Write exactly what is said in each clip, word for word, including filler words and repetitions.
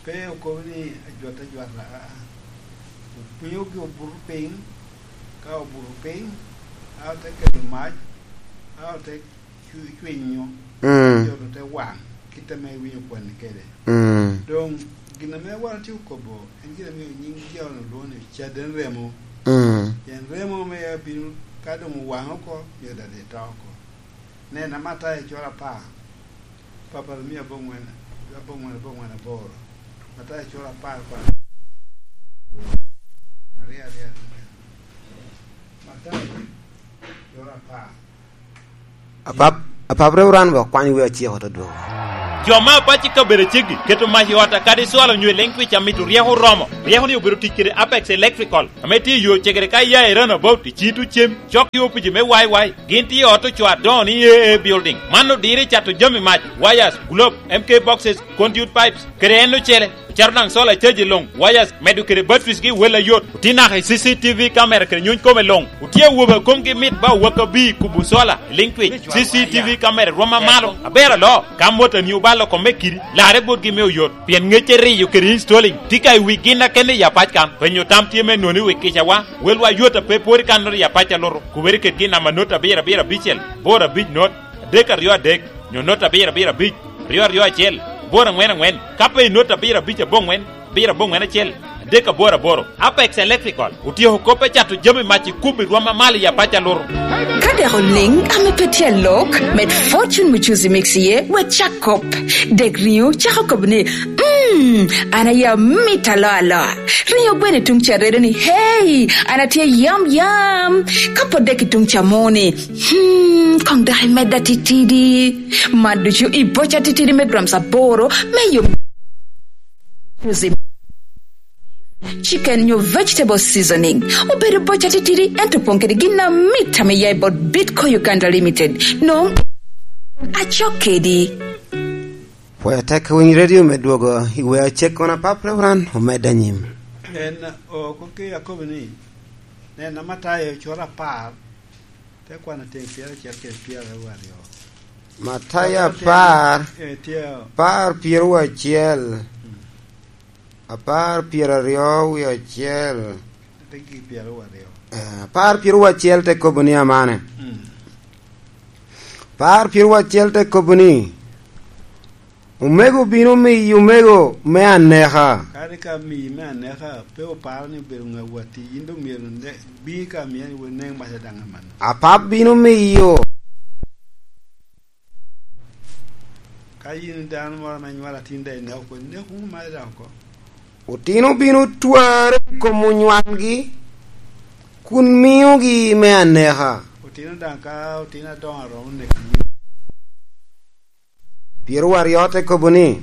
Pe okobo ni ajwat ajwata, aa. Opwinyo gi obuto piny, ka obuto piny, a ote kelo mac, a ote cwi-, cwinyo, mm, jo te waŋ, kit ame iwinyo kwanni kede. Mm. Doŋ gin ame wan otye okobo, en gin ame nyiŋ John olwoŋo ni caden remo. Mm. Pien remo ame abino ka doŋ owaŋ oko, myero dade to oko. Nen, Matayo cura apar, papal mia aboŋwen, aboŋwen, aboŋwen aboro. Matayo cura apar, kwan aryo, aryo, aryo. Matayo cura apar. Apap, apap Reverend, bë okwany wi aciko te dwogo. Jo me apac i kabedo aceggi keto mac i ot a kadi cwalo onyo i leŋ twic amito ryeko oromo. Ryeko ni obedo tic kede Apex Electrical, ame tye i yo cegere ka iya i Roundabout i Cito Cem, cok i opici me Y Y. Gin tye i ot ocoo adoŋo ni A A Building. Man odiro i cato jami mac, wires, globe, M K boxes, conduit pipes, kede en ocele. Ocato daŋ solar charge luŋ, wires, medo kede batteries gi wel ayot. Otye naka i C C T V camera kede nyuny kome luŋ. Otye awobe a komgi mit ba owak abir kubo solar i liŋ twic. C C T V camera rwom amalo. Aber aloo, ka motoni obalo kome kidi, larre botgi me oyot. Pien ŋecce riyo kede installing tye ka i wi gin akene i apac kan. Penyo tam tye me nwoŋo i wi kicawa. Welwa yot a pe pwod i kannoro i apac a luto. Kubere kedgi i namba not abiro abiro abicel, boro abic not, adek aryo adek, nyo not abiro abiro abic, ryo aryo acel, boro aŋwen aŋwen, ka pe i not abiro abic aboŋwen, abiro aboŋwen acel, adek aboro aboro. Apex Electrical otyeko kop me cato jami mac i kubbi rwom amalo i apac a luto. Ka dek oliŋ ame pe tye alok, med Fortune Muchuzi Mix iye, wek cak kop. Dek riŋo cako kobo ni, "Mm, an aye amit aloa aloa." Riŋo gweno i tuŋ ca redo ni, "Hey, an atye yam yam." Ka pwod dek i tuŋ ca moni, "Hmm, koŋ dok imedda titidi." Man ducu i boca titidi me grams aboro me yom. Chicken nyo vegetable seasoning. Obedo boca titidi, ento opoŋ kede gin amit ame ya i bot Bitco Uganda Limited. Noŋ acok kedi. Pwod atek winy radio me dwogo i wer acek kono apap Reverend omed anyim. En, o, koke akobo ni, nen, Matayo cura apar, te kwano tyeng pyeracel kede pyeraryo. Matayo apar, eh, tye, apar pyeraryo acel. Mm. Apar pyeraryo wie acel. Te gi pyeraryo. Eh, apar pyeraryo acel te kobo ni amane. Mm. Apar pyeraryo acel te kobo ni, "Omego bino miyi omego me aneka." Kadi ka miyi me aneka, pe oparo ni obedo ŋa watti, in dong myero ne-, bi ka miya ni wun neŋ maca daŋ amanno. Apap bino miyo. Ka in dano moro ame nywalo atin daŋ ineko oko, nek wunu maca daŋ oko. Otino bino tware i kom onywangi, kun miogi me aneka. Otino daŋ ka otino adoŋo aromo neko. Pyeraryo te kobo ni,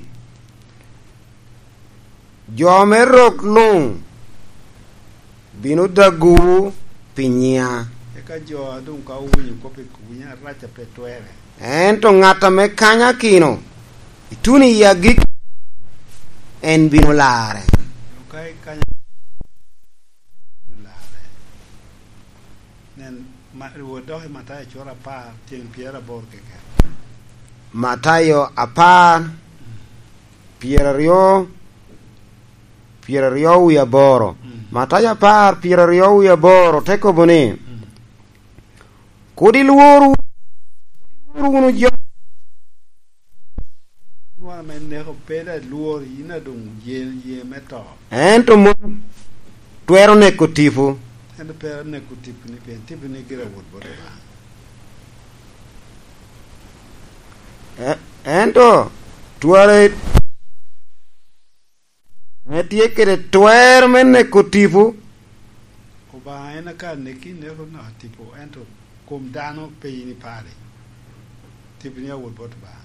"Jo me rok luŋ bino dagowu pi nyiŋa." Eka jo a doŋ ka owinyo kop i winyo arac a pe twerre. "Ento ŋat ame kanyakino ituno i agikki, en bino larre." Doŋ ka ikanya-, larre. Nen, ma-, wot dok i Matayo cura apar, tyeng pyeraboro keken. Matayo apar, pyeraryo, pyeraryo wie aboro. Mm. Matayo apar, pyeraryo wie aboro te kobo ni, mm, "Kur ilwor, ilwor wunu jo." Nwoŋo ame neko pe da lwor, yin a doŋ ye, ye me to. Ento mom twero neko tipo. Ento pe neko tiponi, pien tiponi gire awot bot Obaŋa. E-, ento twere ame tye kede twer me neko tipo. Obaŋa en aka neki, neko naka tipo, ento kom dano pe in ipari. Tiponi awot bot Obaŋa.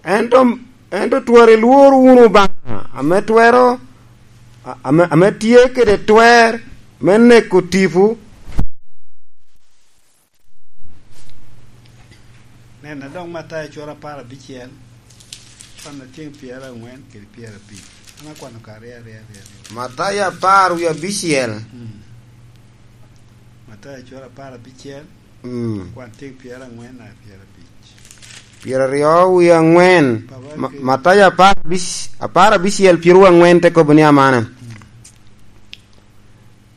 Ento, ento twero ilwor wunu Obaŋa, ame twero, a-, ame, ame tye kede twer me neko tipo. Nen, adok Matayo cura apar abicel, kwan atyeng pyeraŋwen kede pyerabic. An akwano ka aryo, aryo, aryo, aryo. Matayo apar wie abicel. Mm. Matayo cura apar abicel, mm, kwan tyeng pyeraŋwen naka pyerabic. Pyeraryo wie aŋwen. Papa Ma-, ke- Matayo apar abic-, apar abicel, pyeraryo aŋwen te kobo ni amana.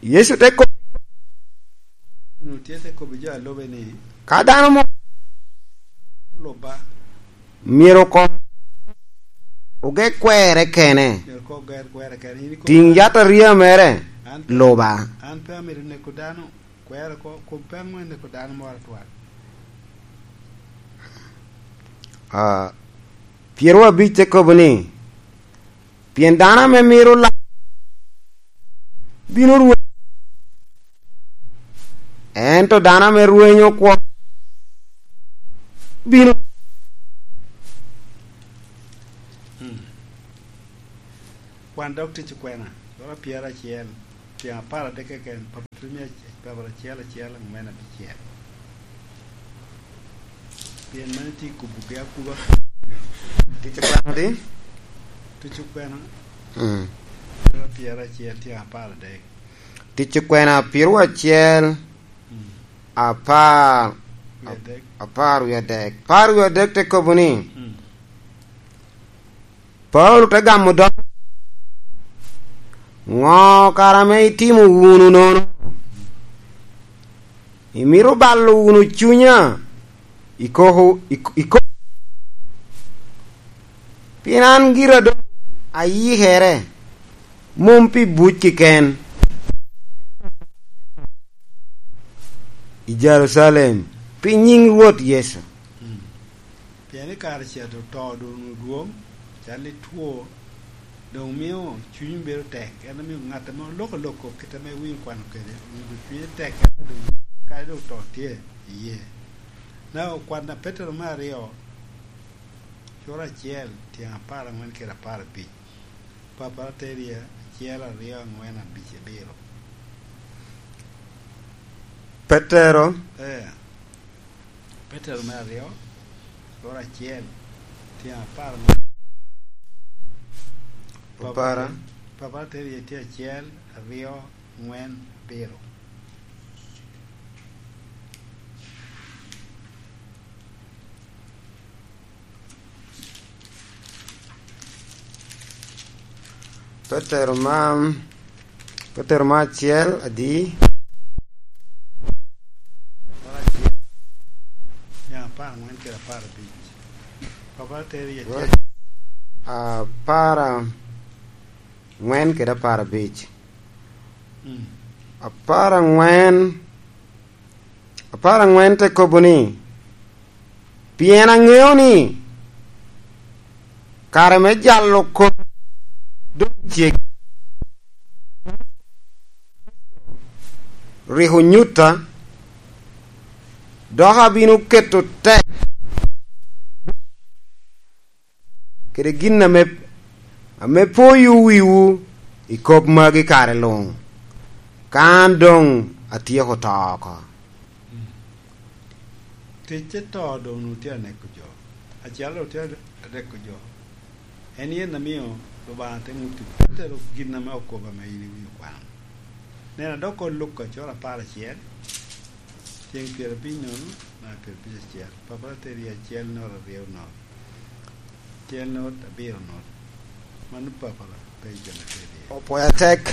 Yecu te kobo, Onwo tye te kobo jo a lube ni, ka dano mo lubba, myero oko oge kwerre kene. Myero oko oger kwerre kene. In ikobo, tiŋ yat arya mere, an pe, luba. An pe amito neko dano. Kwero ko, kop pe aŋwen i ko dano moro atwal. Ah, pyeraryo abic te kobo ni, pien dano ame mito la-, bino rwe-, ento dano ame rwenyo kwo bino. Hmm. Kwan dok tic okwena, loro pyeraryo acel, tyen apar adek keken, Papatrimia, Papatrimia acel acel, aŋwen abicel. Pien mano tye i kubogi akuba. Tic okwena di? Tic okwena. Mm. Loro pyeraryo acel, tyen apar adek. Tic okwena pyeraryo acel, mm, apar, wie adek. Apar wie adek. Apar wie adek te kobo ni, mm. Paulo te gamo dog, "Ŋo kara ame itimo wunu nono? Imito balo wunu cunya i koko, i, i ko-, pien an gira doŋ ayikere, mom pi buc keken, i Jerucalem, pi nyiŋ Rwot Yecu." Mm. Pien i kare ca doŋ to doŋ onwoŋo dwoŋ, cal i two, doŋ mio cuny bedo tek, en omio ŋat ame oloko lok kop kit ame winyo kwano kede, onwoŋo cunye tek, en doŋ, kadi doŋ to tye iye. Na okwan a Petero me aryo, cura acel, tyen apar aŋwen kede apar abic. Papatrimia acel, aryo, aŋwen, abic, abiro. Petero. Eh. Petero me aryo, cura acel, tyen apar aŋwen. Papara. Papatrimia tye acel, aryo, aŋwen, abiro. Petero ma, Petero ma acel, adi? Apar aŋwen kede apar abic. Papa teri acel. Apar aŋwen kede apar abic. Mm. Apar aŋwen, apar aŋwen te kobo ni, "Pien aŋeo ni kare me jalo kop doŋ ceggi, rik onyutta, dok abino keto tek kede gin ame, ame poyo wiwu i kop magi kare luŋ, ka an doŋ atyeko to oko." Mm. Ticce to doŋ onwoŋo tye aneko jo. Acel doŋ tye aneko jo. En yen amio Lubanga te ŋutti Petero gin ame okobo ame in iwinyo kwano. Nena dok oko Luka cura apar acel, tyen pyerabic nono, naka pyerabic acel. Papa teri acel nono aryo nono. Acel nono abiro nono. Mano Papa pe jo me teri. Opwoyo atek.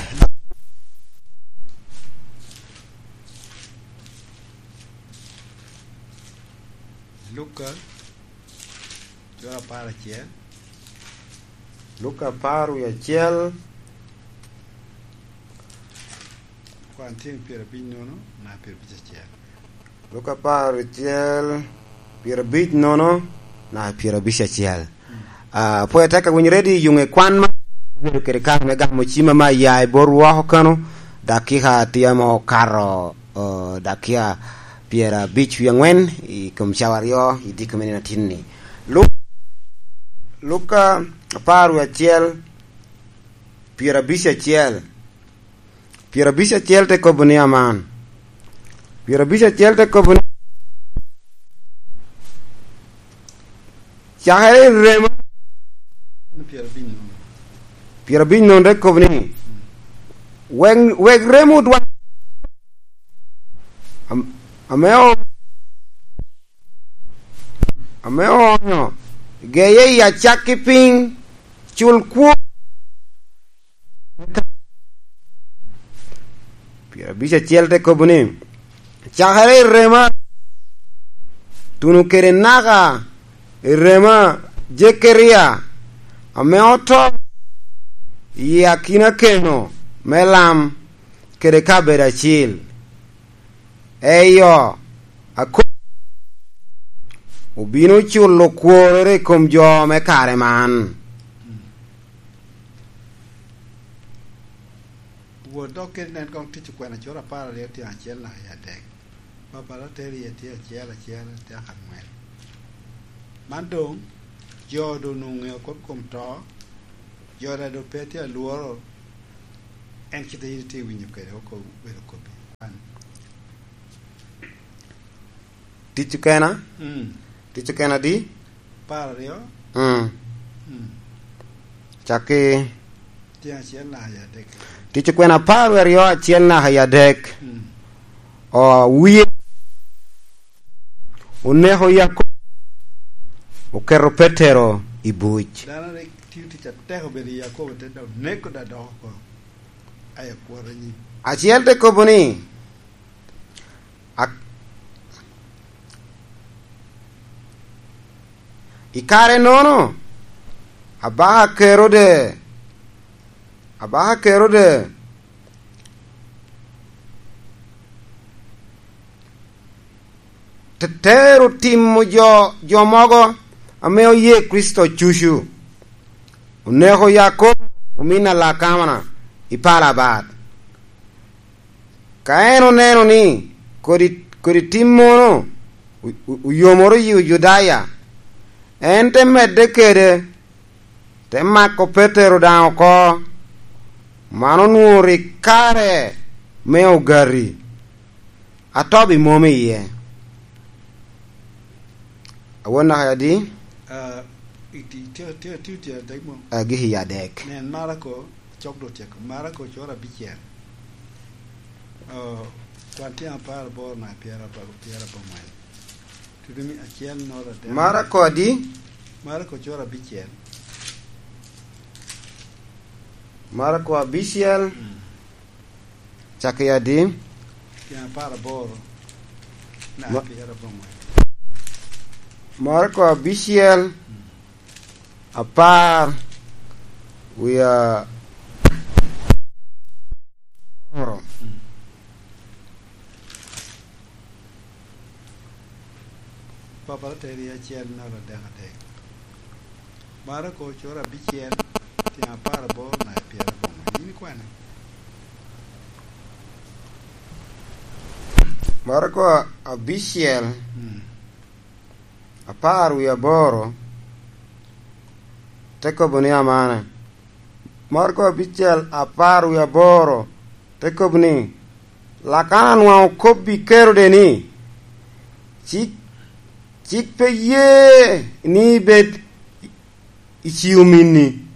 Luka cura apar acel. Luka apar wie acel. Kwan tyen pyerabic nono, naka pyerabic acel. Luka apar acel, pyerabic nono, naka pyerabic acel. Mm. Ah, pwod atek awinyo ready yuŋe kwan ma bedo kede kare me gamo cima ma ya i bot woko kano, dakika tye ame okato, oh, dakika pyerabic wie aŋwen i kom cawa aryo i diko me nino atin-ni. Lu-, Luka apar wie acel, pyerabic acel. Pyerabic acel te kobo ni aman. Pyerabic acel te kobo ni, cakere i remo. Pyerabic nono te kobo ni, "Wek, wek remo odwa-, am-, ame o-, me onyo geye i acakki piny, cul kwo. Pyerabic acel te kobo ni, cakere i rema, tuno kede naka i rema Jekeria, ame oto i akina keno me lam kede kabedo acil. Eyo, ako-, obino culo kworere i kom jo me kare man. Wot dok kede nen koŋ Tic Okwena cura apar aryo tyen acel naka i adek. Papal ater iye tye acel acel tyen angwen. Man doŋ, jo doŋ onwoŋo ŋeo kop kom to, jo daŋ doŋ pe tye alworo, en kite yin itye winyo kede oko bedo kobbi. Tic Okena? Mm. Tic Okena di? Apar aryo. Mm. Mm. Cakki. Tyen acel naka i adek. Tic Okwena apar aryo acel naka i adek. Mm. O, wie oneko Yakobo, oketo Petero i buc. Dano rik tio tic atek obedo i Yakobo, te dok neko da dok oko. Aye kwota nyi. Acel te kobo ni, Ak-, i kare-nono, abaka Kerode, abaka Kerode te-, tero timo jo, jo mogo ame oye Kricito cucu. Oneko Yakobo omin a Lakana i pala abat. Ka en oneno ni kodi, kodi timmono o-, o-, oyomoro yi Ojudaya, en te medde kede, te mako Petero daŋ oko. Man onwoŋo rik kare me ogati. Atobi mom iye. Awon naka adi? Ah, iti-, tye, tye, tye, tye adek mo. Ah, gik i adek. Nen, Marako, cok dok tyeko. Marako cura abicel. Oh, kwan tyen apar aboro naka pyera aboro, pyera abongwen. Tutu mi acel noro adek. Marako adi? Marako cura abicel. Marako abicel. Mm. Cakki adi? Tyen apar aboro. Na, ma-, pyera abongwen. Marako abicel, mm, apar, wie aboro. Mm. Papal ater iye acel naka adek adek. Marako cura abicel, tyen apar aboro naka pyera abongwen. Yin ikwene? Marako abicel, mm, apar wie aboro, te kobo ni amane. Marko abicel apar wie aboro te kobo ni, Lakana nwaŋ okobbi Kerode ni, cik, cik pe ye ni ibed i ci ominni.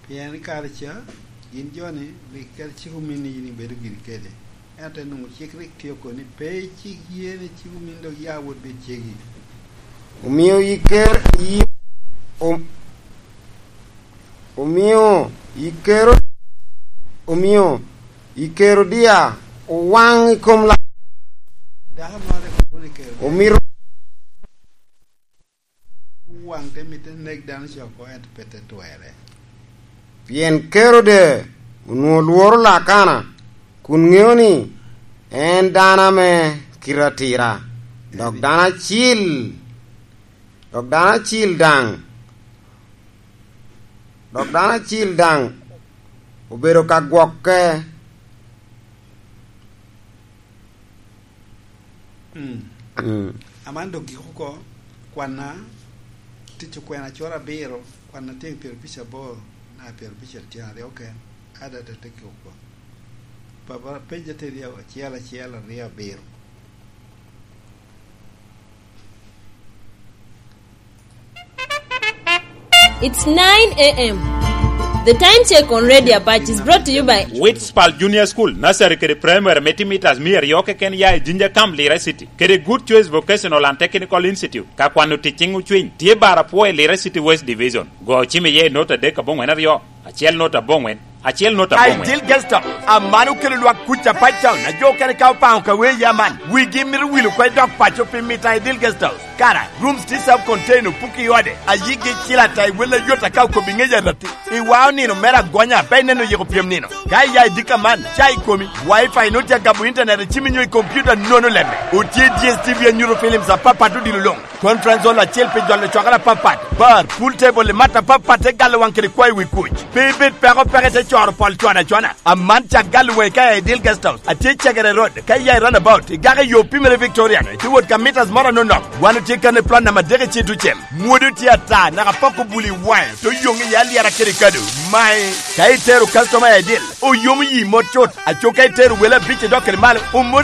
Pien i kare ca, gin jo-ni rik kede cik ominni yin ibedo giri kede. Ento en onwoŋo cik rik tye oko ni, pe icik ye ni cik ominni dok ya wot bed cegi. Omio iker-, i-, om-, omio ikero-, omio i Kerodia owaŋ i kom la-, dako moro rik kobo ni Kerodia omito waŋ te mitte nek dano ca oko, ento pe te twerre. Pien Kerode onwoŋo lworo Lakana, kun ŋeo ni en dano ame kite atira, dok dano acil, dok dano acil daŋ, dok dano acil daŋ obedo ka gwokke. Mm. Mm. Aman dok gik oko, kwanna Tic Okwena cura abiro, kwanna tyen pyerabic aboro, na pyerabic tyen aryo oken, ada te gik oko. Papa, page ateri acel acel aryo abiro. It's nine a m. The Time Check on Radio Apache is brought to you by Witspal Junior School, Nursery kede Primary me timo mitas mia aryo keken ya i Jinja Camp, Lira City, kede Good Choice Vocational and Technical Institute, ka kwano tic ciŋ ocwiny, tye bar apwo i Lira City West Division. Go ocim iye i nota adek aboŋwen aryo, acel nota aboŋwen, acel nota aboŋwen. Ideal Guest House, aman okelo lwak kuc a Pactown, a jo okene ka opaŋo ka wee ya man, wigi mito wil oko i dog paco pi mito a Ideal Guest House. Kara, rooms tye self-contained, opuki i ode, a yigi cil ata i wel ayot aka okobo i ŋec arati. I wao nino mere agonya, pe ineno yiko pyem nino. Ka iya i dika man, ca i komi, Wi-Fi nut ya gabo internet i cimi nyo i computer nono lemme. Otye D S T V anyuto films apapat odilo luŋ. Conference hall acel pi jolo cwakere apapat. Bar, pool table i mat apapat te galo waŋ kede kwayo wi kuc. Pe ibed peko peke te coro pol cwana cwana. Aman cak galo waŋ i ka i Ideal Guest House. Atye i Cegere Road, ka iya i roundabout, igako i yo pimere Victorian, itye wot ka meters moro anonok. Wan otye kan i plot namba adek i Citucem. Mwodo tye ata, naka pok obuli waŋe, to yoŋ i alyera kede kado. Mae, ka itero customer i Ideal, oyomo yi mot cut. Aco ka itero wele abic i dok kede malo, omo